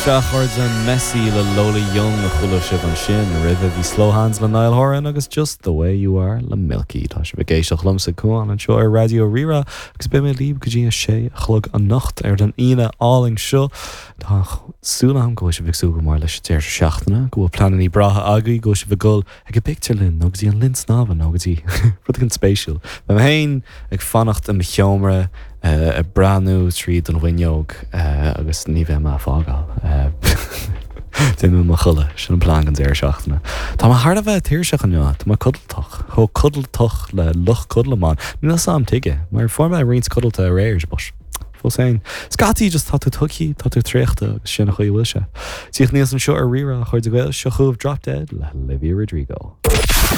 Sea, a chairde, Messy le Lola Young a chuala sibh ansin. Roimhe bhí Slow Hands le Niall Horan agus Just The Way You Are le Milky. Tá sibh ag éisteacht liomsa, Cuán, anseo ar Raidió Rí-Rá agus beidh mé libh go dtí a sé a chlog anocht ar an Aoine álainn seo. Tá súil agam go bhfuil sibh ag súil go mór leis an deireadh seachtaine, go bhfuil pleananna breátha agaibh, go bhfuil sibh ag dul ag an bpictiúrlann nó go dtí an linn snámha nó go dtí rud éigin spéisiúil. Beidh mé féin ag fanacht i mo sheomra ag breathnú tríd an bhfuinneog agus ní bheidh mé ag fágáil. Beidh mé i mo chodladh, sin an plean don deireadh seachtaine. Tá mé thar a bheith tuirseach inniu, tá mé codlatach, chomh codlatach le luch codlamán. Níl a fhios a'm tuige, mar fuair mé roinnt codlata aréir, but fós féin. Scaití just tá tú tugtha, tá tú traochta agus sin an chaoi a bhfuil sé. Tíocht aníos anseo ar Rí-Rá, a chairde Gael, seo chugaibh Drop Dead le Olivia Rodrigo.